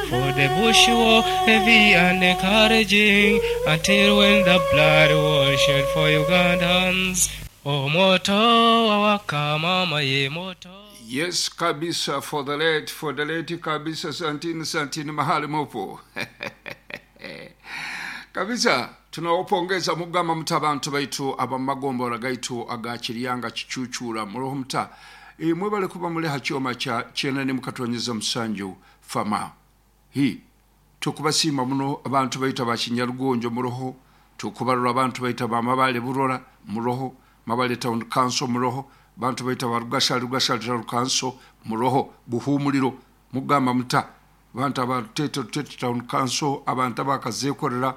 For the bush war heavy and encouraging until when the blood was shed for Ugandans. Oh, moto wawaka mama ye moto. Yes kabisa, for the late kabisa. Santini, santini mahali mupo kabisa. Tunawapongeza mugamba muta abantu baitu abamagombora gaitu agakiryanga kicucura muroho muta e, mwebale kuba muli hakyoma kya 97 fama hi. Tukubasiima muno abantu baitu abakinyarugonjo muroho. Tukubarura abantu baitu abamabale burora muroho, Mabale Town Council muroho, bantu baitu abarugashali, Rugashali Town Council muroho, Buhumuliro mugamba muta, abantu abarutete, Rutete Town Council, abantu abakazekorera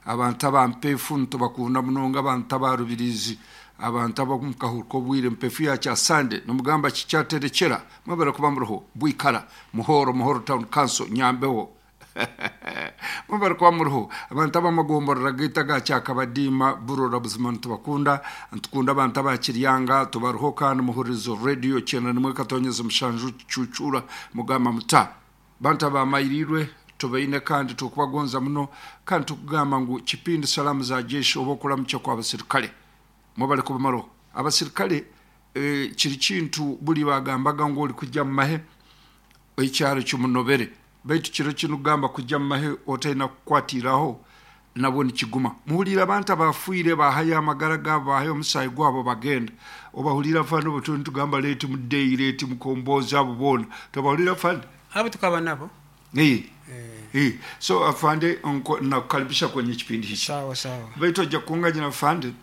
abantu abampefu ntubakunda munonga, abantu abarubirizi, abantu abamukahurika obwire mpefu yakya Sande nomugamba kikyaterekera. Mwebale kuba muroho. Bwikara Muhoro, Muhoro Town Council, Nyambeho mwebale kuba muroho. Abantu abamagomborora gaita gakyakabadiima Burora, buzima ntubakunda, ntukunda abantu abakiryanga tubaruho. Kandi muhurizo radio 91.7 Cucura mugamba muta, bantu abamayirirwe tubaine kandi tukubagonza muno. Kandi tukugamba ngu kipindi Salamu za Jeshi oba okuramukya kwa abasirikale. Mwebale kuba maroho abasirikale. Kiri kintu buli bagambaga ngu oli kujja mu mahe ekyaro kimunobere, baitu kiro kino kugamba kujja mu mahe otalina kukwatiraho nabwo nikiguma. Muhulire abantu abafiire bahayo amagara gaabo, bahayo omusaayi gwabo bagenda. Obahulira fani obutu nitugamba late Mudeyi, late Mukombozi, abo boona tobahulira fani? Abo tukaba nabo. Eh. So afande, nakukaribisha kwenye kipindi hiki. Sawa sawa. Baitu ojja kunganya afande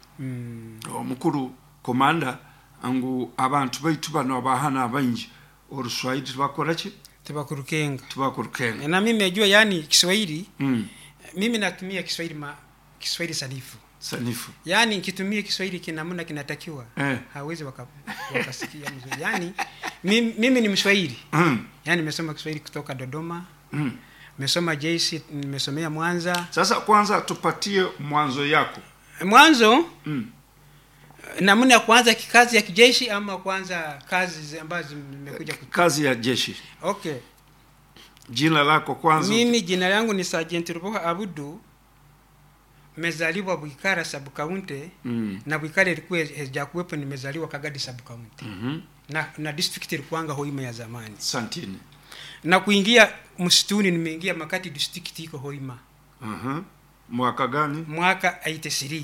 omukuru komanda ngu abantu baitu bano abahana abaingi oruswahili tibakora ki? Tibakurukenga. Tibakurukenga. Na mimi najua, yani Kiswahili, mimi natumia Kiswahili Kiswahili sanifu. Sanifu. Yaani nikitumia Kiswahili kinamna kinatakiwa, hawezi wakasikia mzuri. Yaani mimi ni Mswahili. Yaani nimesoma Kiswahili kutoka Dodoma. Nimesoma JC, nimesomea Mwanza. Sasa kwanza tupatie mwanzo yako. Mwanzo, namna ya kuanza kikazi ya kijeshi ama kuanza kazi ambazo zimekuja Kazi ya jeshi. Okay. Jina lako kwanza. Mimi jina langu ni Sergeant Ruboha Abudu. Nimezaliwa Bwikara sub county. Na Bwikara ilikuwa haijakuwepo, nimezaliwa Kagadi sub county. Na district ilikuwanga Hoima ya zamani. Santini. Na kuingia msituni nimeingia makati district iko Hoima. Mwaka gani? Mwaka 83.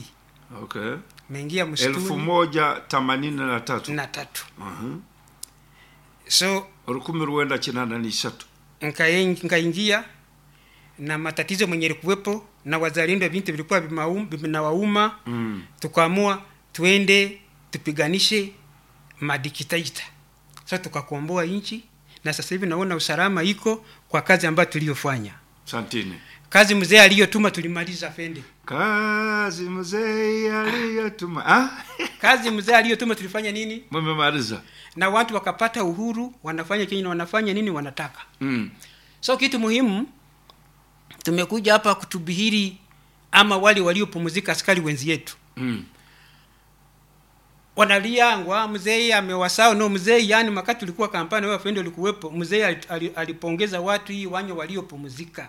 Nimeingia msituni. 1083. Na tatu. So 1983. Nkaingia na matatizo mwenye ilikuwepo na wazalendo, vintu vilikuwa vinawauma. Tukaamua tuende tupiganishe madikteta. Sasa tukakomboa nchi na sasa hivi naona usalama iko kwa kazi ambayo tuliyofanya. Santini. Kazi mzee aliyotuma tulimaliza, fende. Kazi mzee aliyotuma, ah? Kazi mzee aliyotuma tulifanya nini? Mmemaliza. Na watu wakapata uhuru, wanafanya kenye wanafanya nini wanataka. So kitu muhimu tumekuja hapa kutubihiri ama wale waliopumzika, askari wenzi yetu wanalia ngwa mzee amewasao. No, mzee, yani makati ulikuwa kampani, wewe afende ulikuwepo, mzee alipongeza watu hii wanyo waliopumzika.